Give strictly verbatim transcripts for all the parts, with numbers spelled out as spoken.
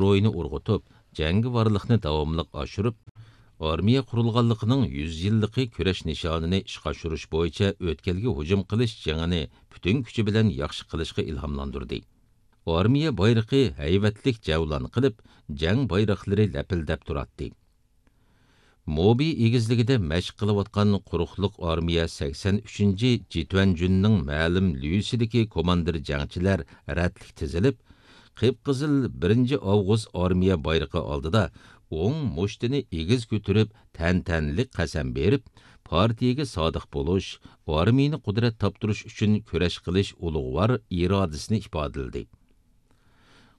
روھىنى ئۇرغۇتۇپ، جەڭگىۋارلىقنى داۋاملىق ئاشۇرۇپ، ئارمىيە قۇرۇلغانلىقىنىڭ يۈز يىللىقى كۈرەش نىشانىنى ئىشقا ئاشۇرۇش بويىچە ئۆتكەلگە ھۇجۇم قىلىش جېڭىنى پۈتۈن كۈچى بىلەن ياخشى قىلىشقا ئىلھاملاندۇردى. ئارمىيە بايرىقى ھەيۋەتلىك جەۋلان قىلىپ، جەڭ بايراقلىرى لەپىلدەپ تۇراتتى. موبى ئېگىزلىكىدە مەشىق قىلىۋاتقان قۇرۇقلۇق ئارمىيە سەكسەن ئۈچىنچى جىتۈەنجۈننىڭ مەلۇم ليۇسىدىكى كوماندىر جەڭچىلەر رەتلىك تىزىلىپ، قىپقىزىل بىرىنچى ئاۋغۇست ئارمىيە بايرىقى ئالدىدا ئوڭ مۇشتىنى ئېگىز كۆتۈرۈپ، تەنتەنىلىك قەسەم بېرىپ، پارتىيەگە سادىق بولۇش، ئارمىيىنى قۇدرەت تاپتۇرۇش ئۈچۈن كۈرەش قىلىش ئۇلۇغۋار ئىرادىسىنى ئىپادىلىدى.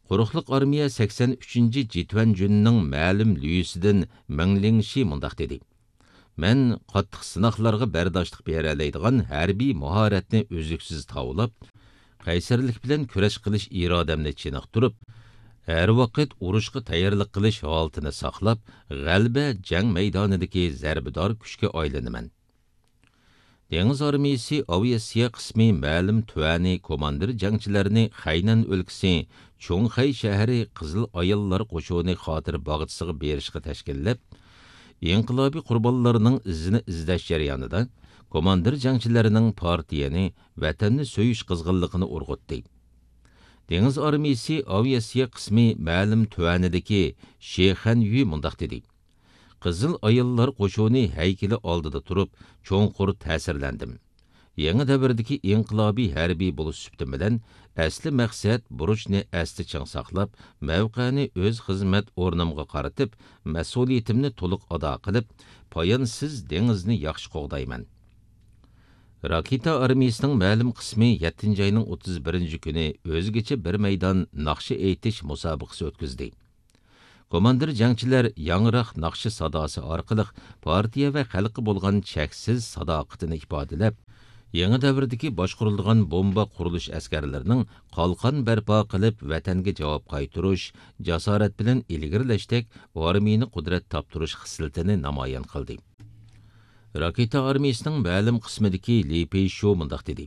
قۇرۇقلۇق ئارمىيە سەكسەن ئۈچىنچى جىتۈەنجۈننىڭ مەلۇم ليۇسىدىن مېڭ لىڭشى مۇنداق دېدى: مەن قاتتىق سىناقلارغا بەرداشلىق بېرەلەيدىغان ھەربىي ماھارەتنى ئۈزلۈكسىز تاۋلاپ، قەيسەرلىك بىلەن كۈرەش قىلىش ئىرادەمنى چېنىقتۇرۇپ، ھەر ۋاقىت ئۇرۇشقا تەييارلىق قىلىش ھالىتىنى ساقلاپ، غەلىبە جەڭ مەيدانىدىكى زەربىدار كۈچكە ئايلىنىمەن. دېڭىز ئارمىيىسى ئاۋىئاتسىيە قىسمى مەلۇم تۈەنى كوماندىر جەڭچىلەرنى خەينەن ئۆلكىسى چۇڭخەي شەھىرى قىزىل ئاياللار قوشۇنى خاتىرە باغچىسىغا بېرىشقا تەشكىللەپ، ئىنقىلابىي قۇربانلارنىڭ ئىزىنى ئىزدەش جەريانىدا، كوماندىر جەڭچىلەرنىڭ پارتىيەنى، ۋەتەننى سۆيۈش قىزغىنلىقىنى ئۇرغۇتتى. دېڭىز ئارمىيىسى ئاۋىئاتسىيە قىسمى مەلۇم تۈەنىدىكى شې خەنيۈ مۇنداق دېدى: قىزىل ئاياللار قوشۇنى ھەيكىلى ئالدىدا تۇرۇپ، چوڭقۇر تەسىرلەندىم. يېڭى دەۋردىكى ئىنقىلابىي ھەربىي بولۇش سۈپىتىم بىلەن ئەسلى مەقسەت بۇرچنى ئەستە چىڭ ساقلاپ، مەۋقەنى ئۆز خىزمەت ئورنۇمغا قارىتىپ، مەسئۇلىيىتىمنى تولۇق ئادا قىلىپ، پايانسىز دېڭىزنى ياخشى قوغدايمەن. راكېتا ئارمىيىسىنىڭ مەلۇم قىسمى يەتتىنچى ئاينىڭ ئوتتۇز بىرىنچى كۈنى ئۆزگىچە بىر مەيدان ناخشا ئېيتىش مۇسابىقىسى ئۆتكۈزدى. كوماندىر جەڭچىلەر ياڭراق ناخشا ساداسى ئارقىلىق پارتىيە ۋە خەلققە بولغان چەكسىز ساداقىتىنى ئىپادىلەپ، يېڭى دەۋردىكى باشقۇرۇلىدىغان بومبا قۇرۇلۇش ئەسكەرلىرىنىڭ قالقان بەرپا قىلىپ، ۋەتەنگە جاۋاب قايتۇرۇش، جاسارەت بىلەن ئىلگىرىلەشتەك ئارمىيىنى قۇدرەت تاپتۇرۇش خىسلىتىنى نامايان قىلدى. راكېتا ئارمىيىسىنىڭ مەلۇم قىسمىدىكى لى پېيشۇ مۇنداق دېدى: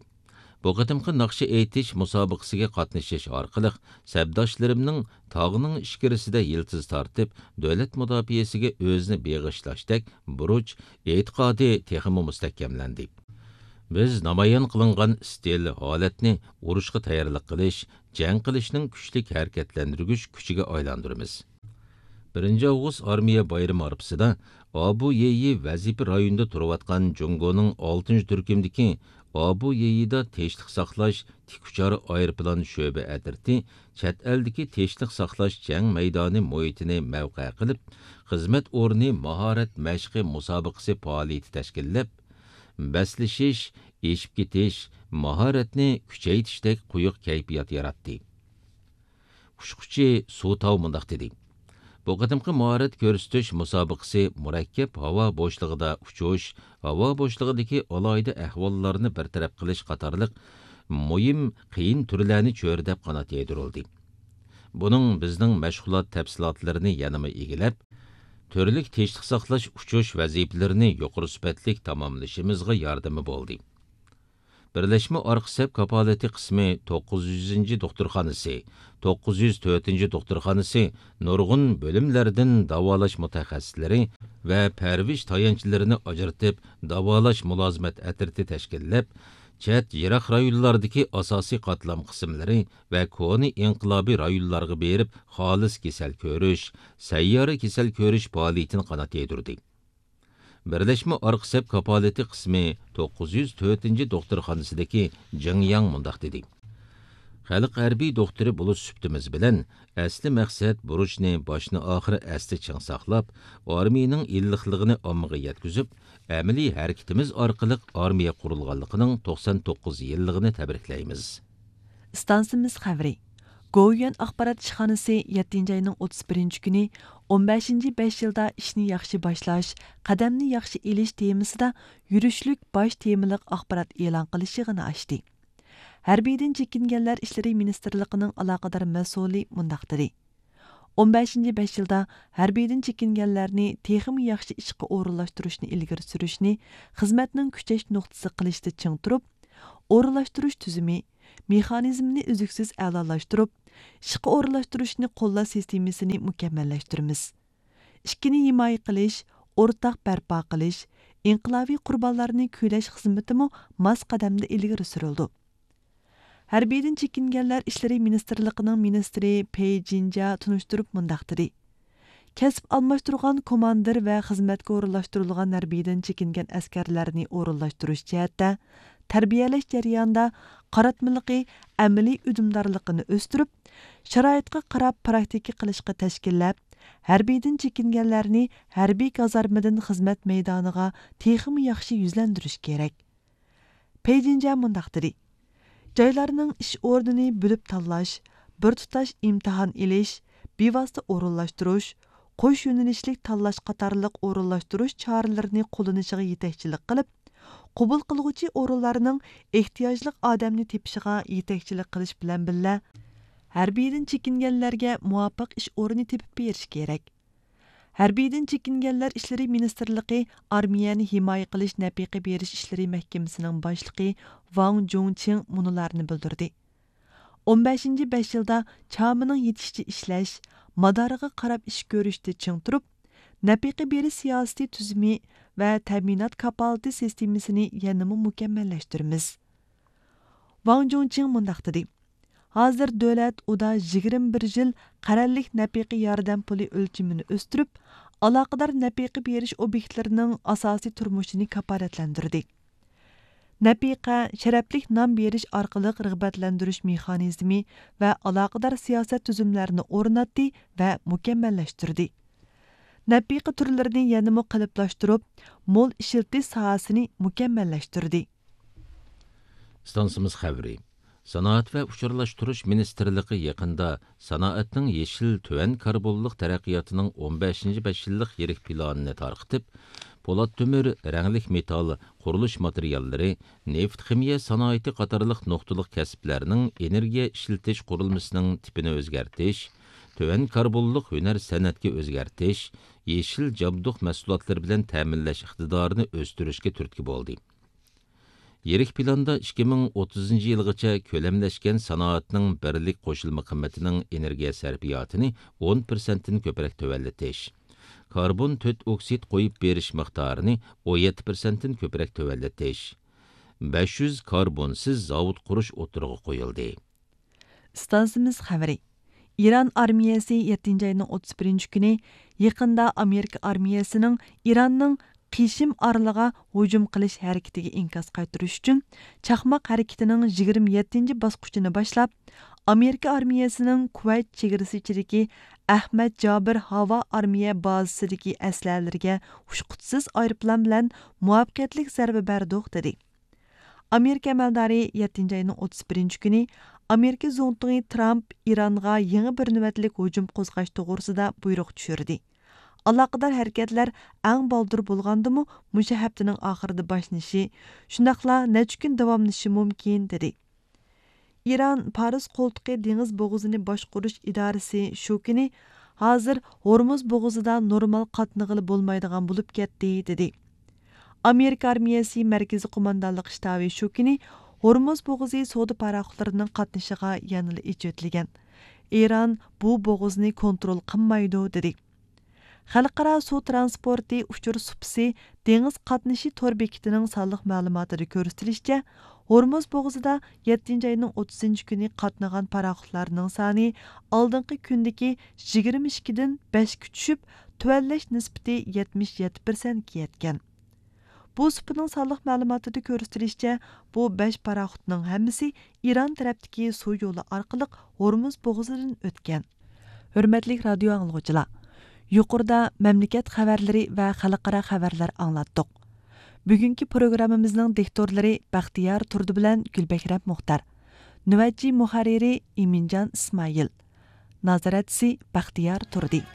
بۇ قېتىمقى ناخشا ئېيتىش مۇسابىقىسىگە قاتنىشىش ئارقىلىق، سەپداشلىرىمنىڭ تاغنىڭ ئىچكىرىسىدە يىلتىز تارتىپ، دۆلەت مۇداپىئەسىگە ئۆزىنى بېغىشلاشتەك بۇرچ، ئېتىقادى تېخىمۇ مۇستەھكەملەندى. بىز نامايان قىلىنغان ئىستىل ھالەتنى ئۇرۇشقا تەييارلىق قىلىش، جەڭ قىلىشنىڭ كۈچلۈك ھەرىكەتلەندۈرگۈچ كۈچىگە ئايلاندۇرىمىز. بىرىنچى ئاۋغۇست ئارمىيە بايرىمى ئارىپىسىدا ئابۇ يېيى ۋەزىپە رايونىدا تۇرۇۋاتقان جۇڭگونىڭ ئالتىنچى تۈركۈمدىكى ئابۇ يېيىدا تىنچلىق ساقلاش تىك ئۇچار ئايروپىلان شۆبە ئەترىتى چەت ئەلدىكى تىنچلىق ساقلاش جەڭ مەيدانى مۇھىتىنى مەۋقە قىلىپ، خىزمەت ئورنى ماھارەت مەشقى مۇسابىقىسى پائالىيىتى تەشكىللەپ، بەسلىشىش، ئېشىپ كېتىش، ماھارەتنى كۈچەيتىشتەك قويۇق كەيپىيات ياراتتى. ئۇچقۇچى سۇ تاۋ مۇنداق دېدى: بۇ قېتىمقى ماھارەت كۆرسىتىش مۇسابىقىسى مۇرەككەپ ھاۋا بوشلۇقىدا ئۇچۇش، ھاۋا بوشلۇقىدىكى ئالاھىدە ئەھۋاللارنى بىر تەرەپ قىلىش قاتارلىق مۇھىم قىيىن تۈرلەرنى چۆرىدەپ قانات يايدۇرۇلدى. بۇنىڭ بىزنىڭ مەشغۇلات تەپسىلاتلىرىنى يەنىمۇ ئىگىلەپ، تۈرلۈك تىنچلىق ساقلاش ئۇچۇش ۋەزىپىلىرىنى يۇقىرى سۈپەتلىك تاماملىشىمىزغا ياردىمى بولدى. بىرلەشمە ئارقا سەپ كاپالىتى قىسمى توققۇز يۈزىنچى دوختۇرخانىسى، توققۇز يۈز تۆتىنچى دوختۇرخانىسى نۇرغۇن بۆلۈملەردىن داۋالاش مۇتەخەسسىسلىرى ۋە پەرۋىش تايانچلىرىنى ئاجرىتىپ، داۋالاش مۇلازىمەت ئەترىتى تەشكىللەپ، چەت، يىراق رايونلاردىكى ئاساسىي قاتلام قىسىملىرى ۋە كونا ئىنقىلابىي رايونلارغا بېرىپ، خالىس كېسەل كۆرۈش، سەييارە كېسەل كۆرۈش پائالىيىتىنى قانات يايدۇردى. بىرلەشمە ئارقا سەپ كاپالىتى قىسمى توققۇز يۈز تۆتىنچى دوختۇرخانىسىدىكى جېڭ ياڭ مۇنداق دېدى: خەلق ھەربىي دوختۇرى بولۇش سۈپىتىمىز بىلەن، ئەسلى مەقسەت بۇرچنى باشتىن ئاخىر ئەستە چىڭ ساقلاپ، ئارمىيىنىڭ ئىللىقلىقىنى ئاممىغا يەتكۈزۈپ، ئەمەلىي ھەرىكىتىمىز ئارقىلىق ئارمىيە قۇرۇلغانلىقىنىڭ توقسان توققۇز يىللىقىنى تەبرىكلەيمىز. ئىستانسىمىز خەۋىرى. گوۋۇيۈەن ئاخبارات ئىشخانىسى يەتتىنچى ئاينىڭ ئوتتۇز بىرىنچى كۈنى «ئون بەشىنچى بەش يىلدا ئىشنى ياخشى باشلاش، قەدەمنى ياخشى ئېلىش» تېمىسىدا يۈرۈشلۈك باش تېمىلىق ئاخبارات ئېلان قىلىش يىغىنى ئاچتى. ھەربىيدىن چېكىنگەنلەر ئىشلىرى مىنىستىرلىقىنىڭ ئالاقىدار مەسئۇلى مۇنداق دېدى: «ئون بەشىنچى بەش يىلدا ھەربىيدىن چېكىنگەنلەرنى تېخىمۇ ياخشى ئىشقا ئورۇنلاشتۇرۇشنى ئىلگىرى سۈرۈشنى خىزمەتنىڭ كۈچەش نۇقتىسى قىلىشتا چىڭ تۇرۇپ، ئورۇنلاشتۇرۇش تۈزۈمى، مېخانىزمىنى ئۈزلۈكسىز ئەلالاشتۇرۇپ، ئىشقا ئورۇنلاشتۇرۇشنى قوللاش سىستېمىسىنى مۇكەممەللەشتۈرىمىز. ئىشكىنى ھىمايە قىلىش، ئورتاق بەرپا قىلىش، ئىنقىلابىي قۇربانلارنى كۈيلەش خىزمىتىمۇ ماس قەدەمدە ئىلگىرى سۈرۈلىدۇ. ھەربىيدىن چېكىنگەنلەر ئىشلىرى مىنىستىرلىقىنىڭ مىنىستىرى پېي جىنجيا تونۇشتۇرۇپ مۇنداق دېدى: كەسىپ ئالماشتۇرغان كوماندىر ۋە خىزمەتكە ئورۇنلاشتۇرۇلغان ھەربىيدىن چېكىنگەن ئەسكەرلەرنى ئورۇنلاشتۇرۇش جەھەتتە تەربىيەلەش جەريانىدا قاراتمىلىقى ئەمەلىي ئۈندىدارلىقىنى ئۆستۈرۈپ، شارائىتقا قاراپ پراكتىكا قىلىشقا تەشكىللەپ، ھەربىيدىن چېكىنگەنلەرنى ھەربىي كازارمىدىن خىزمەت مەيدانىغا تېخىمۇ ياخشى يۈزلەندۈرۈش كېرەك. پېي جىنجيا مۇنداق دېدى: جايلارنىڭ ئىش ئورنىنى بۆلۈپ تاللاش، بىر تۇتاش ئىمتىھان ئېلىش، بىۋاسىتە ئورۇنلاشتۇرۇش، قوش يۆنىلىشلىك تاللاش قاتارلىق ئورۇنلاشتۇرۇش چارىلىرىنى قوللىنىشىغا يېتەكچىلىك قىلىپ، قوبۇل قىلغۇچى ئورۇنلارنىڭ ئېھتىياجلىق ئادەمنى تېپىشىغا يېتەكچىلىك قىلىش بىلەن بىللە، ھەربىيدىن چېكىنگەنلەرگە مۇۋاپىق ئىش ئورنى تېپىپ بېرىش كېرەك. ھەربىيدىن چېكىنگەنلەر ئىشلىرى مىنىستىرلىقى ئارمىيەنى ھىمايە قىلىش نەپىقە بېرىش ئىشلىرى مەھكىمىسىنىڭ باشلىقى ۋاڭ جۇڭچىڭ مۇنۇلارنى بىلدۈردى: ئون بەشىنچى بەش يىلدا چامىنىڭ يېتىشىچە ئىشلەش، مادارىغا قاراپ ئىش كۆرۈشتە چىڭ تۇرۇپ، نەپىقە بېرىش سىياسىتى تۈزۈمى ۋە تەمىنات كاپالىتى سىستېمىسىنى يەنىمۇ مۇكەممەللەشتۈرىمىز. ۋاڭ جۇڭچىڭ مۇنداق دېدى: ھازىر دۆلەت ئۇدا يىگىرمە بىر يىل قەرەللىك نەپىقە ياردەم پۇلى ئۆلچىمىنى ئۆستۈرۈپ، ئالاقىدار نەپىقە بېرىش ئوبيېكتلىرىنىڭ ئاساسىي تۇرمۇشىنى كاپالەتلەندۈردى. نەپىقە، شەرەپلىك نان بېرىش ئارقىلىق رىغبەتلەندۈرۈش مېخانىزمى ۋە ئالاقىدار سىياسەت تۈزۈملەرنى ئورناتتى ۋە مۇكەممەللەشتۈردى. نەپىقە تۈرلىرىنى يەنىمۇ قېلىپلاشتۇرۇپ، مول ئىشلىتىش ساھەسىنى مۇكەممەللەشتۈردى. ئىستانسىمىز خەۋىرى. سانائەت ۋە ئۇچۇرلاشتۇرۇش مىنىستىرلىقى يېقىندا سانائەتنىڭ يېشىل تۆۋەن كاربونلۇق تەرەققىياتىنىڭ ئون بەشىنچى بەش يىللىق يىرىك پىلانىنى تارقىتىپ، پولات تۆمۈر، رەڭلىك مېتال، قۇرۇلۇش ماتېرىياللىرى، نېفىت خىمىيە سانائىتى قاتارلىق نۇقتىلىق كەسىپلەرنىڭ ئېنېرگىيە ئىشلىتىش قۇرۇلمىسىنىڭ تىپىنى ئۆزگەرتىش، تۆۋەن كاربونلۇق ھۈنەر سەنئەتكە ئۆزگەرتىش، يېشىل جابدۇق مەھسۇلاتلىرى بىلەن تەمىنلەش ئىقتىدارىنى ئۆستۈرۈشكە تۈرتكە بولدى. يىرىك پىلاندا ئىككى مىڭ ئوتتۇزىنچى يىلغىچە كۆلەملەشكەن سانائەتنىڭ بىرلىك قوشۇلما قىممىتىنىڭ ئېنېرگىيە سەرپىياتىنى ئون پىرسەنتتىن كۆپرەك تۆۋەنلىتىش، كاربون تۆت ئوكسىد قويۇپ بېرىش مىقدارىنى ئون يەتتە پىرسەنتتىن كۆپرەك تۆۋەنلىتىش، بەش يۈز كاربونسىز زاۋۇت قۇرۇش ئوتتۇرىغا قويۇلدى. ئىستانسىمىز خەۋىرى. ئىران ئارمىيەسى يەتتىنچى ئاينىڭ ئوتتۇز بىرىنچى كۈنى يېقىندا ئامېرىكا ئارمىيەسىنىڭ ئىراننىڭ قىشىم ئارىلىغا ھۇجۇم قىلىش ھەرىكىتىگە ئىنكاس قايتۇرۇش ئۈچۈن چاقماق ھەرىكىتىنىڭ يىگىرمە يەتتىنچى باسقۇچىنى باشلاپ، ئامېرىكا ئارمىيەسىنىڭ كۇۋەيت چېگرىسى ئىچىدىكى ئەھمەد جابىر ھاۋا ئارمىيە بازىسىدىكى ئەسلىھەلىرىگە ئۇچقۇچىسىز ئايروپىلان بىلەن مۇۋەپپەقىيەتلىك زەربە بەردۇق، دېدى. ئامېرىكا ئەمەلدارى يەتتىنچى ئاينىڭ ئوتتۇز بىرىنچى كۈنى ئامېرىكا زۇڭتۇڭى ترامپ ئىرانغا يېڭى بىر نۆۋەتلىك ھۇجۇم قوزغاش توغرىسىدا بۇيرۇق چۈشۈردى. ئالاقىدار ھەرىكەتلەر ئەڭ بالدۇر بولغاندىمۇ مۇشۇ ھەپتىنىڭ ئاخىرىدا باشلىنىشى، شۇنداقلا نەچچە كۈن داۋاملىشىشى مۇمكىن، دېدى. ئىران پارس قولتۇقى دېڭىز بوغۇزىنى باشقۇرۇش ئىدارىسى شۇ كۈنى، ھازىر ھورمۇز بوغۇزىدا نورمال قاتنىغىلى بولمايدىغان بولۇپ كەتتى، دېدى. ئامېرىكا ئارمىيەسى مەركىزىي قوماندانلىق شتابى شۇ كۈنى ھورمۇز بوغۇزى سودا پاراخوتلىرىنىڭ قاتنىشىغا يەنىلا ئېچىۋېتىلگەن. ئىران بۇ بوغۇزنى كونترول قىلمايدۇ، دېدى. خەلقئارا سۇ ترانسپورتى ئۇچۇر سۇپىسى دېڭىز قاتنىشى تور بېكىتىنىڭ سانلىق مەلۇماتىدا كۆرسىتىلىشىچە، ھورمۇز بوغۇزىدا يەتتىنچى ئاينىڭ ئوتتۇزىنچى كۈنى قاتنىغان پاراخوتلارنىڭ سانى ئالدىنقى كۈندىكى يىگىرمە ئىككىدىن بەشكە چۈشۈپ، تۆۋەنلەش نىسبىتى يەتمىش يەتتە پىرسەنتكە يەتكەن. بۇ سۇپىنىڭ سانلىق مەلۇماتىدا كۆرسىتىلىشىچە، بۇ بەش پاراخوتنىڭ ھەممىسى ئىران تەرەپتىكى سۇ يولى ئارقىلىق ھورمۇز بوغۇزىدىن ئۆتكەن. ھۆرمەتلىك رادىيو ئاڭلىغۇچىلار، يۇقىرىدا مەملىكەت خەۋەرلىرى ۋە خەلقئارا خەۋەرلەر ئاڭلاتتۇق. بۈگۈنكى پروگراممىمىزنىڭ دىكتورلىرى بەختىيار تۇردى بىلەن گۈلبەھرەم مۇختار. نۆۋەتچى مۇھەررىرى ئىمىنجان ئىسمائىل. نازارەتچىسى بەختىيار تۇردى.